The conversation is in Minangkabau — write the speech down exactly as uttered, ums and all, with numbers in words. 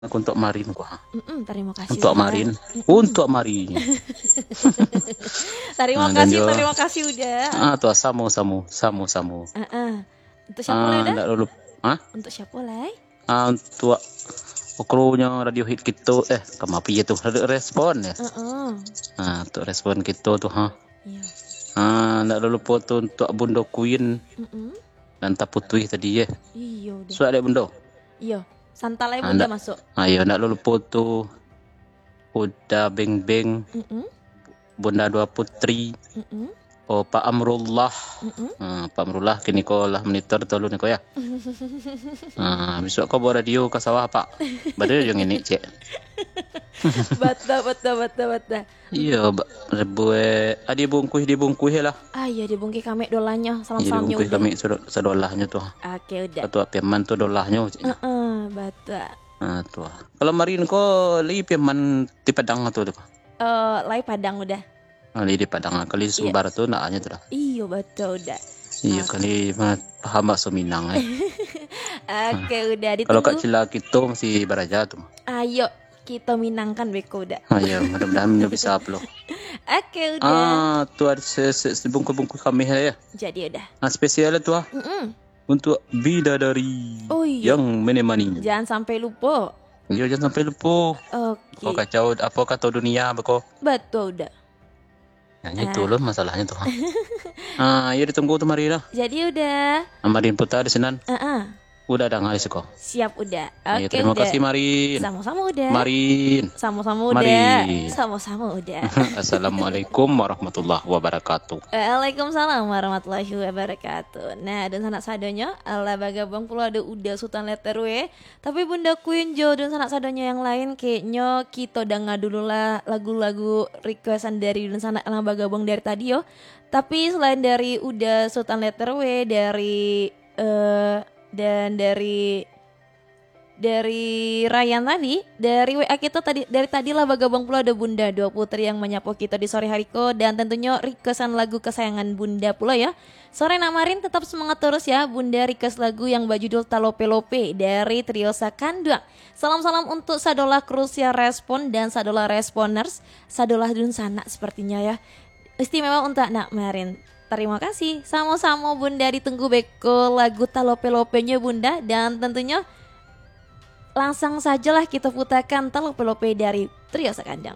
Aku untuk Marin ko, ha. Mm-mm, terima kasih, Uda. Untuk Marin. Mm-mm. Untuk Marin. Terima kasih, terima kasih, Uda. Ah, tu, samo-samo, samo-samo. Ah, ah. Untuk siapa lai, Uda? Ndak dulu. Ha? Untuk siapa lai? Ah, untuk kru-nyo Radio Hit kito, eh, kama apo tu? Radio Respon, yo? Heeh. Ah, untuk Respon kito tu, ha. Iyo. Ah, ndak lupo tu untuk Bundo Queen. Mm-mm. Dan Taputuih tadi, yo. Iyo, Uda. Suak dek Bundo. Iyo. Santai lai Bundo masuk. Ah, iyo, ndak lupo tu Uda Beng Beng. Mm-mm. Bunda Dua Putri. Mm-mm. Oh, Pak Amrullah. Mm-mm. Ah, Pak Amrullah kini ko lah monitor tolu ni ko, yo. Ah, bisuak ko bawa radio ka sawah, Pak. Baru jo ngini, cek. Batua, batua, batua, batua. Iyo, ba-, rebuik. Ah, dibungkuih, dibungkuih lah. Ah, iyo, dibungkuih kami dolahnyo, salam-salamnyo Uda. Iyo, dibungkuih kami sado-, sadolahnyo tu. Oke, Uda. Ketua Firman tu dolahnyo, ceknyo. Heeh, batua. Ah, tu. Kalau Marin ko, lai Firman di Padang tu, tu. Eh, lai Padang, Uda. Ah, lai di Padang, kali Sumbar tu nak nyo tu lah. Iyo, batua, Uda. Iyo, kali ma-, paham bahaso Minang, eh. Oke, Uda, ditunggu. Kalau Kak Cila kito masih baraja tu. Ayo, kito minangkan beko, Uda. Ayo, mudah-mudahan nyo bisa upload. Oke, Uda. Ah, tu ado se-, se-, sebungkus-bungkus kami lah, yo. Jadi, Uda. Ah, spesial lah tu, ah. Mm-mm. Untuk bidadari yang menemani. Oh, iyo. Jangan sampai lupo. Iyo, jangan sampai lupo. Oke. Apo kacau, apo kato dunia, beko. Batua, Uda. Nah, itu loh masalahnyo tu. Ah, iyo, ditunggu tu Marin lah. Jadi, Uda. Ah, Marin puta di sinan. Ah, ah. Uda danga di siko. Siap, Uda. Ayo, oke, terima kasih, Marin. Samo-samo, Uda. Marin. Samo-samo, Uda. Marin. Samo-samo, Uda. Assalamualaikum warahmatullahi wabarakatuh. Waalaikumsalam warahmatullahi wabarakatuh. Nah, dunsanak sadonyo, alah bagabuang pulo ado Uda Sutan Letter W. Tapi Bunda Queen jo dunsanak sadonyo yang lain, kayaknyo kito danga dulu lah lagu-lagu requestan dari dunsanak yang bagabuang dari tadi yo. Tapi selain dari Uda Sutan Letter W, dari, eh, dan dari, dari Ryan tadi, dari W A kito tadi, dari tadi lah bagabuang pulo ado Bunda Dua Putri yang manyapo kito di sore hari ko, dan tentunyo requestan lagu kesayangan Bunda pulo yo. Sore nak Marin, tetap semangat terus ya. Bunda request lagu yang bajudul Talope-lope dari Trio Sakanduang. Salam-salam untuk sadolah kru siar Respon dan sadolah Responers, sadolah dunsanak sepertinya ya. Istimewa untuk nak Marin. Terima kasih. Samo-samo Bunda, ditunggu beko lagu Talope-lopenyo Bunda. Dan tentunyo langsung sajalah kita putakan Talope-lope dari Trio Sakanduang.